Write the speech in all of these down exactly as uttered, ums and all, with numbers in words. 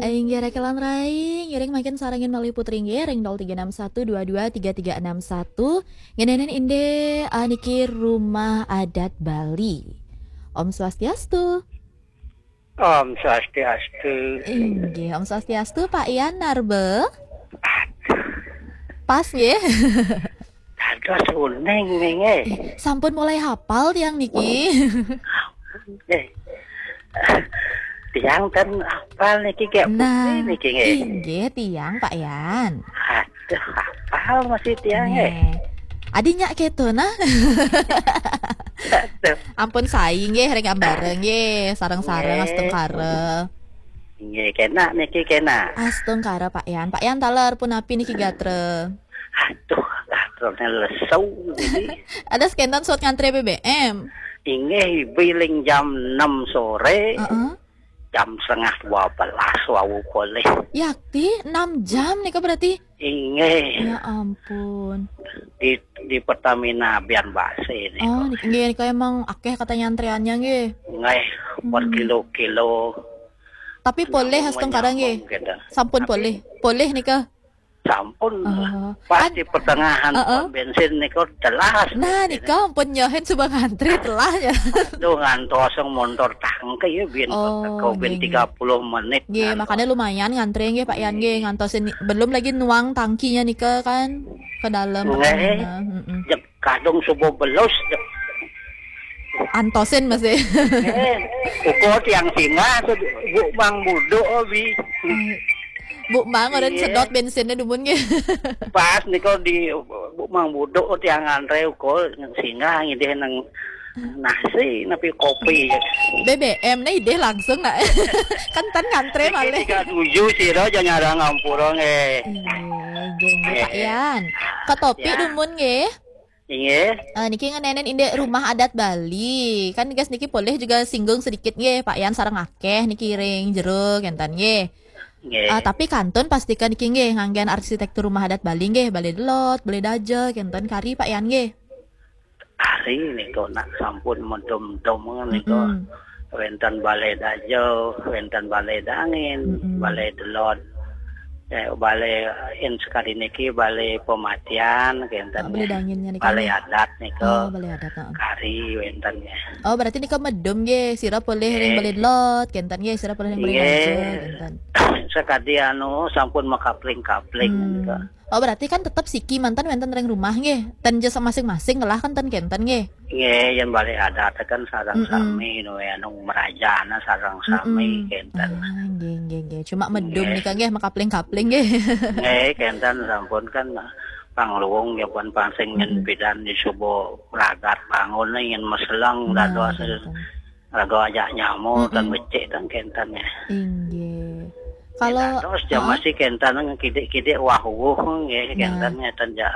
Inggih, Rakelan Rai, ngiring mangkin sarengin malih Putri nggih, ring nol tiga enam satu dua dua tiga tiga enam satu. Ngeninin indik, ah, niki Rumah Adat Bali. Om Swastiastu. Om Swastiastu. Inggih, Om Swastiastu, Pak Yan Narbe. Pas nggih. Dados uning nggih. Sampun mulai hapal tiang niki. Eh, tiang ten apal niki kayak Nah, putri niki nggih. Inggih tiang, Pak Yan. Aduh, apal masih tiang nggih. Nggih. Adi nyak keto nah. Aduh. Ampun sai nggih, ring ambara nggih, sareng-sareng Nggih. Astungkara. Nggih, kena niki kena. Astungkara, Pak Yan. Pak Yan taler punapi niki gatra? Aduh, gatrane lesu niki. Ada sekentan suat ngantre B B M. Inggih, biling jam enam sore. Heeh. Jam setengah dua belas wau kolih. Yakti enam jam nika berarti? Inggih. Ya ampun. Di, di Pertamina Bian Base nika. Oh, niki nggih, nika emang akeh katanya antreannya nggih. Nggih, Hmm. berkilo-kilo. Tapi Kenapa polih astungkara nggih. menyambung kita? Sampun Tapi polih. Polih nika. Sampun. Oh. Pas An- di pertengahan Heeh. pom bensin nika telah. Nah, nika ampun nyohin suba ngantri telah ya. Aduh, ngantos yang motor tangke ya bin Oh, teko bin nggih, nggih. tiga puluh menit. Nggih, ngantos. Makanya lumayan ngantri nggih Pak Yan nggih, Nggih. ngantosin ni- belum lagi nuang tangkinya nika kan ke dalam Nggih. Pertamina. Mm-mm. Jek kadung subuh belus. Jek. Antosin masih. Eh, ukur tiang singa tu Bu Mang Buduk, oh, bi. Bu Mang orang Iya. sedot bensinnya dumun nggih. Pas nika di Bu Mang Buduk tiang ngantre ukur singa ngidih nang nasi napi kopi. B B M nah idih langsung nak. Kan tan ngantre Niki malih. tiga tujuh sira aja nyarang ampura nggih. Iya, nggih, nggih, Pak Iya. Yan. Ketopi Ya. dumun nggih. Inggih. Eh, niki ngeninin indik Rumah Adat Bali. Kan gas niki polih juga singgung sedikit nggih, Pak Yan sareng akeh niki ring jero kenten nggih. Nggih. Eh, tapi kantun pastikan niki nggih nganggen arsitektur Rumah Adat Bali nggih, Balai Delot, Balai Daja kenten kari Pak Yan nggih. Hari nika nak sampun medum-dum nika. Mm-mm. Wenten Balai Daja, wenten Balai Dangin, Mm-mm. Balai Delot. Eh, balai in sekali niki balai pematian kenten. Oh, balai danginnya nika Balai nggih. Adat nika. Oh, balai adat, heeh. Kari wenten ya. Oh, berarti nika medum nggih, sira polih ring Nggih. Balai Delot kenten nggih, sira polih ring Balai Nggih. Daja kenten. Sekadi anu sampun makapling-kapling Hmm. nika. Oh, berarti kan tetep siki mantan wenten ring rumah nggih. Ten jasa masing-masing lah kan ten kenten nggih. Nggih, yen Balai Adat kan sareng Mm-mm. sami nu anu merajana sareng sami Mm-mm. kenten. Ah, nggih, nggih, nggih. Cuma medum Nggih. nika nggih makapling-kapling nggih. Nggih, kenten sampun kan pangluwung ya pun pansing nyen Mm-mm. bidan di subuh ragat bangun nyen meseleng Nah, dados kenten. Raga ajak nyamuk Mm-mm. dan becik dan kenten ya. Inggih. Kalau Dados jam heeh. masih kenten kidik-kidik wah wuh nggih Nah. kenten ya ten ja,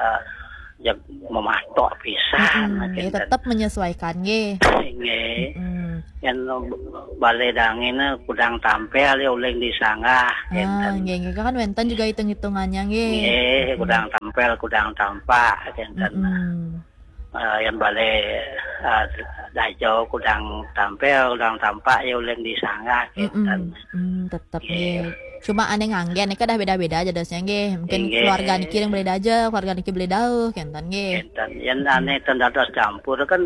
ja mematok pisan Mm-mm. Ya kenten. tetap menyesuaikan nggih. Nggih. Mm-mm. Yen Balai Dangin kudang tampil ya uling disanggah Ah, kenten. nggih, nggih kan wenten juga hitung-hitungannya nggih. Nggih, Mm-mm. kudang tampil, kudang tampak kenten. Mm-mm. Eh, yen Balai, eh, Daja kudang tampil, kudang tampak ya uling disanggah kenten. Mm-mm. Hmm, tetep Nggih. nggih. Cuma ane nganggen nika dah beda-beda aja dosnya nggih. Mungkin Nggih. keluarga niki yang Balai Daja, keluarga niki Balai Dauh kenten nggih. Kenten. Yen Mm-mm. ane ten dados campur kan,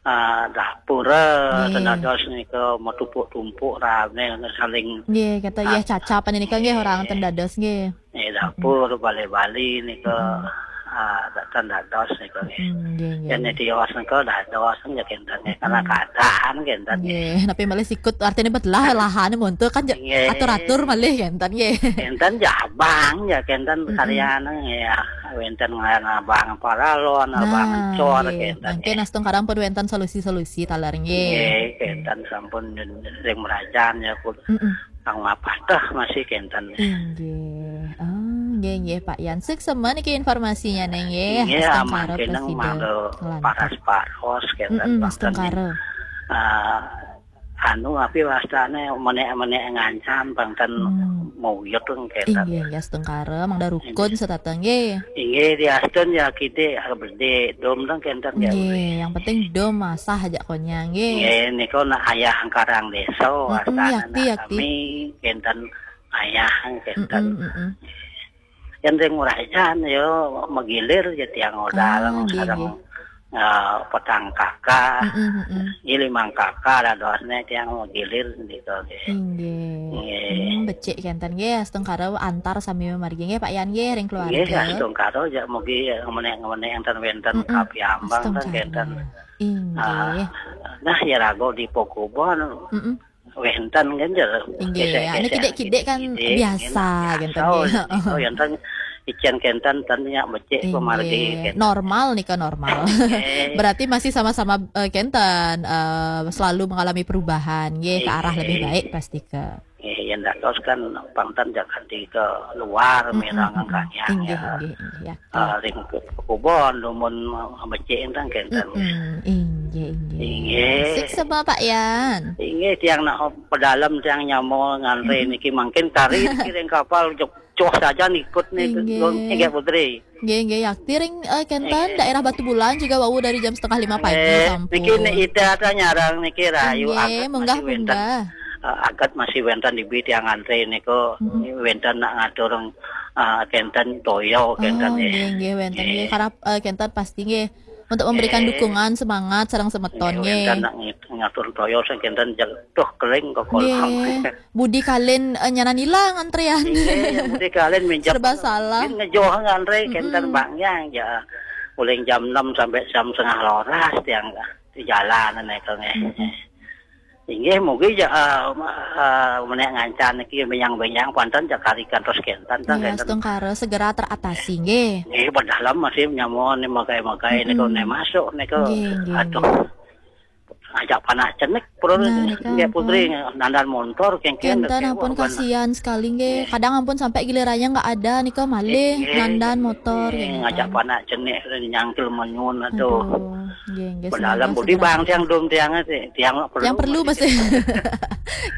eh, dapur, eh, Nggih. ten dados nika mau tumpuk-tumpuk rame saling Nggih, kata ah, iya cacapan nika nggih orang ten dados nggih. Eh, dapur Bali-Bali nika, Mm-mm. ah, ten dados nika nggih. Mm, nggih, nggih, Yen nggih. Tios nika dados ya kenten nggih, karena Mm-mm. keadaan kenten nggih. Nggih, tapi malih sikut artinya betelah lahan monto kan ja-, Nggih. atur-atur malih kenten nggih. Kenten jabang ya kenten Mm-mm. karyana ya. Wenten ngaran abang paralon, abang Nah, cor nggih. kenten Mungkin nggih. Astungkara pun wenten solusi-solusi taler nggih. Nggih, kenten sampun ring merajan ya ku Mm-mm. kang mapatah masih kenten. Inggih. Oh, nggih, nggih, Pak Yan. Suksma niki informasinya neng nggih. Nggih, Astungkara aman kena prasida mangga nglantur. Paras-paros kenten Mm-mm, bangsa Astungkara. Ah, anu api wastane menek-menek ngancam bangten Hmm. mauyut kenten. Inggih, inggih, Astungkara, mangda rukun Inggih. setata nggih. Inggih, diastun ya kidik, ah, bedhe, dom teng kenten ya. Nggih, yang penting dom asah aja konya nggih. Nggih, nika nak ayah angkarang desa, Mm-mm, wastane yakti, nak yakti. Kami kenten ayah kenten. Mm-mm, mm-mm. Yang ring ngurajan yo magilir ja tiang modal. Ah, nggih, sareng, nggih. Eh, petang kaka, mm-mm, mm-mm. Limang kaka dadosne tiang magilir gitu. Inggih. Nggih. Hmm, becik kenten nggih, astungkara antar sami margi nggih Pak Yan nggih ring keluarga. Nggih, astungkara ja mugi ngemenek-ngemenek enten wenten, mm-mm, kapiambang ten astungkara kenten. Inggih. Ah, nah, ya rago di Pokubon. Mm-mm. Wenten kan, jer. Inggih, anu kidik-kidik kan biasa, kenten nggih. Oh, enten icen kenten, ten nya becik pamargi kenten. Normal nika, normal. Berarti masih sama-sama, eh, kenten, eh, selalu mengalami perubahan, nggih, ke arah lebih baik pasti ke. Nggih, yen dados kan pang ten jakan di ke luar, mm-mm, mirang, mm-mm. Angkanya, inggih, ya. Inggih, inggih, ya. Ah, ring Pokubon dumun becik enten kenten. Mm-mm. Inggih, inggih. Inggih. Sik sapa, Pak Yan? Inggih, tiang nak pedalem tiang nyama ngantre, mm-mm, niki mangkin kari niki ring kapal jok-, joh saja nikut nih, inggih. Inggih, Putri. Nggih, nggih, yakti ring, eh, kenten, inggih, daerah Batubulan juga wau dari jam setengah lima pagi, eh, sampun. Niki nih ida ta nyarang niki rayu. Inggih, agat munggah, masih wenten. Munggah. Eh, agat masih wenten di bi tiang ngantre niku. Mm-mm. Wenten nak ngatur, eh, kenten toyo kenten. Oh, nggih, nggih, wenten nggih. Nggih. Karap, eh, kenten pasti nggih untuk memberikan, nggih, dukungan, semangat sareng semeton nggih, nggih. Wenten nak ngi-, ngatur toyo sing kenten jel-, tuh keling ke kolam. Nggih. Budi kalin, eh, nyanan ilang antrean. Nggih, budi kalin minjam. Serba salah. Ngejoh ngantre kenten, mm-mm, bang yang ya. Mulai jam enam sampai jam setengah rolas tiang di jalan niku nggih. Mm-mm. Inggih, mugi ja, eh, eh, menek ngancan niki benyang-benyang panten ja kari kantos kenten, ta, nggih, kenten. Astungkara segera teratasi, nggih. Nggih, padahal masih nyamun magai-magai niku, mm-mm, ne masuk niku. Nggih, nggih, aduh. Nggih. Ajak panak cenik, perlu. Nah, nika nggih, Putri, ampun. Nandan montor, kengken, kenten, kecewa, ampun, kasihan sekali, nggih. Nggih. Kadang ampun sampai gilirannya nggak ada, nika malih, nggih, nandan motor, nggih, nggih, ngajak nenten. Panak cenik, nyangkil menyun, aduh. Aduh. Nggih, nggih, semoga segera. Budi bang tiang dum tiang, tiang perlu. Tiang perlu masih.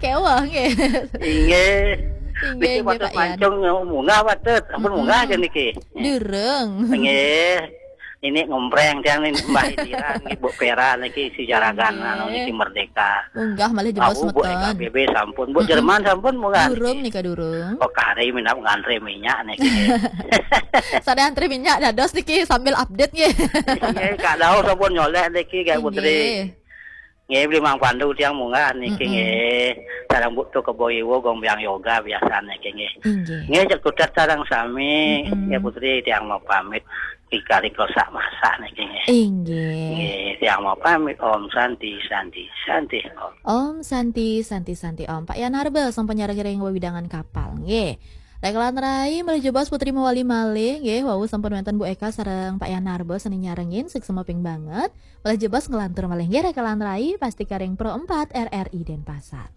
Kewah nggih. Inggih. Inggih, niki inggih, patut Pak Yan. Mancung munggah patut. Ampun, mm-mm, munggah aja niki. Durung. Nggih. Ini ngompreng tiang nih, Mbah Indiran nggih, Bu Pera niki si jaragan, inggih, anu niki Merdeka. Munggah malih jebos. Aku Bu semeton. Eka B B sampun, Bu, mm-mm, Jerman sampun munggah. Durung niki, durung. Kok hari minap ngantre minyak niki. Sada antri minyak dados niki sambil update nggih. Nggih, Kak Dau sampun nyolek niki, Kak Putri. Inggih. Nggih, beli Mang Pandu tiang munggah niki, mm-mm, nggih. Sareng Bu Tu Kebo Iwo gong biang yoga biasa niki nggih. Inggih. Nggih, cek tutet sareng sami, mm-mm, nggih Putri tiang mau pamit. Kikari klosak masak niki nggih. Inggih. Nggih, tiang mau pamit. Om Santi, Santi, Santi, Om. Om Santi, Santi, Santi, Om. Pak Yan Harba sampun nyareng ring wewidangan kapal nggih. Rekelan rai malih jebos Putri mewali malih nggih, wau sampun wenten Bu Eka sareng Pak Yan Harba sane nyarengin, suksma ping banget. Malih jebos nglantur malih nggih Rekelan Rai, pasti karing Pro empat R R I Denpasar.